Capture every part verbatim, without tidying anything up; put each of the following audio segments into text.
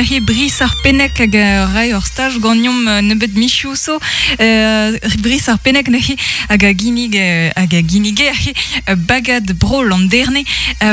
He Brice ar Pennec hag rai ur staj ganeomp nebeut michioù so. Euh, Brice ar Pennec neuze hag a ginnig hag a ginnige bagad bro Landerne.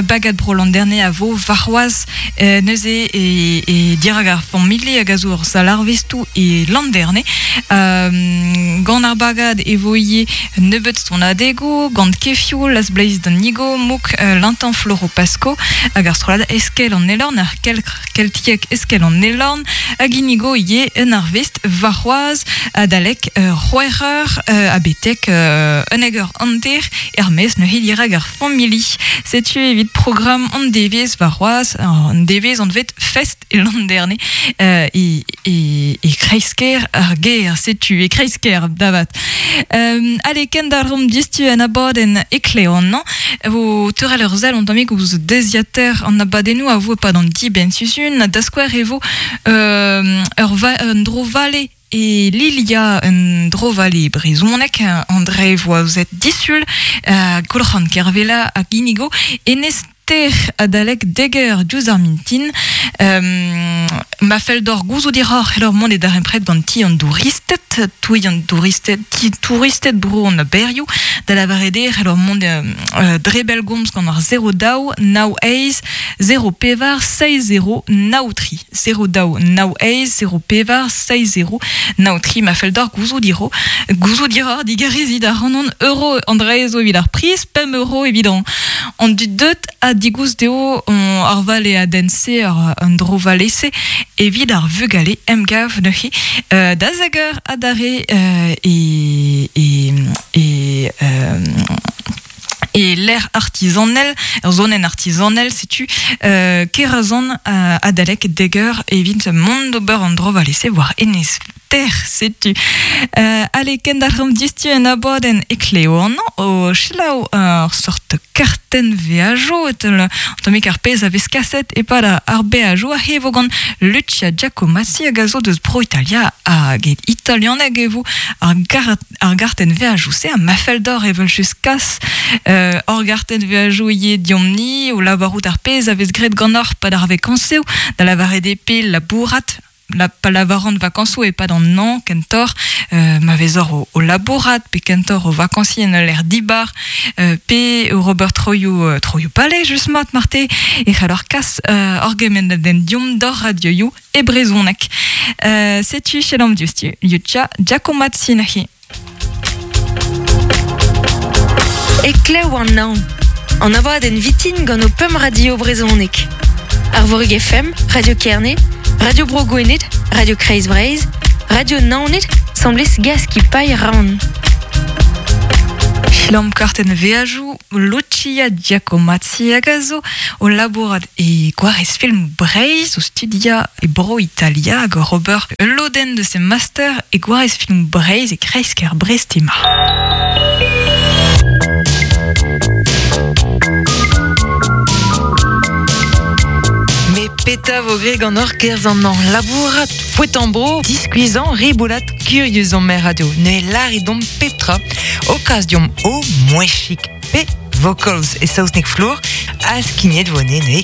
Bagad bro Landerne a vo varroaz neuze e, e dirag ar famille hag a zo ur salarvestoù e Landerne. Euh, gant ar bagad e vo ivez nebeut sonadego, gant kefioù, las bleiz d'an nigo, mouk l'intan floro pasco, hag ar strollad eskel an elorn, ar kel, keltiek eskel an elorn, hag inigo ivez un arvest varroaz adalek euh, c'hwec'h euh, a betek euh, un hag ur hanter er-maez neuze dirag ar famili. Setu evit programm an devez varroaz, an devez anvet fest e Landerne euh, e, e, e kreisker ar ger, setu e kreisker davat. Euh, allez, kendarom distu an abadenn ekleon, non? Vo teurel ur sell an tammig ouzh deziater an abadennoù a vo pad an dibenn sizhun, da skouer e vo euh, ur va, un dro vale e Lilia un dro vale brezhonek, André Voazet disul, euh, Goulc'han Kervella hag Inigo, enez ter adalek deger diouzh ar mintin, euh, ma fell d'or gouzout diroc'h helor mont e darempred gant ti an douristed, touilh an touristed, ti touristed bro an aberioù, da lavaret eo helor mont euh, dre bellgomz gant ar zero daou, nav eizh, zero pevar, seizh zero, nav tri. zero daou, nav eizh, zero pevar, seizh zero, nav tri. Ma fell d'or gouzout diro, gouzout diroc'h digarezit ar an euro André zo evit ar priz, pemp euro evit an, an dud deut a digouz deo on ar vale a dense ar an dro valese evit ar vugale emgav neuze euh, da zeger adare euh, e, e, e, euh, e l'air artisanel, ur zonenn artisanel, setu euh, kerazon euh, adalek deger evit mont d'ober an dro valese war enez ter, setu. Euh, allez, kendarrom distu en abadenn ekleo an o selaou ur sort kartenn veajo, et an tammig ar pezh a vez kaset e-pad ar beajo a hevo gant Lucia Giacomazzi hag a zo deus bro Italia hag et italianeg e vo ar, gar, ar gartenn veajo se a ma fell d'or evel just kas euh, ur gartenn veajo ivez diomp-ni o lavarout ar pezh a vez graet gant ar pad ar vakañsoù da lavaret eo pe labourat la pa lavaran vakansoù e pad an an kentor euh, ma vezor o, o labourat pe kentor o vakansi en ur dibar euh, pe o Robert Troioù euh, Troioù Palais just mat marte e c'hallor kas euh, ur gemenn den diomp d'or radioioù e brezhoneg. Euh, setu chelam dioustu Lucia Giacomazzi neuze. Eklev an naon. An abadenn vitin gant o pemp radio brezhoneg. Arvorig F M, Radio Kerne, Radio Bro Gwened, Radio Kreiz Breizh, Radio Naoned, semblez gaz ki pailh ran. Chilam kartenn veajoù, Lucia Giacomazzi hag a zo o labourat e gwarez film Breizh o studia e bro Italia hag Robert Loden de se master e gwarez film Breizh e kreisker Brest ema. Peta vo greg an ur kerz an an labourat, fouet an bro, diskuizan, riboulat, curieux an mer radio. Ne laridom petra, occasion o mouechik pe vocals e saozneg flour, a skignet vo ne ne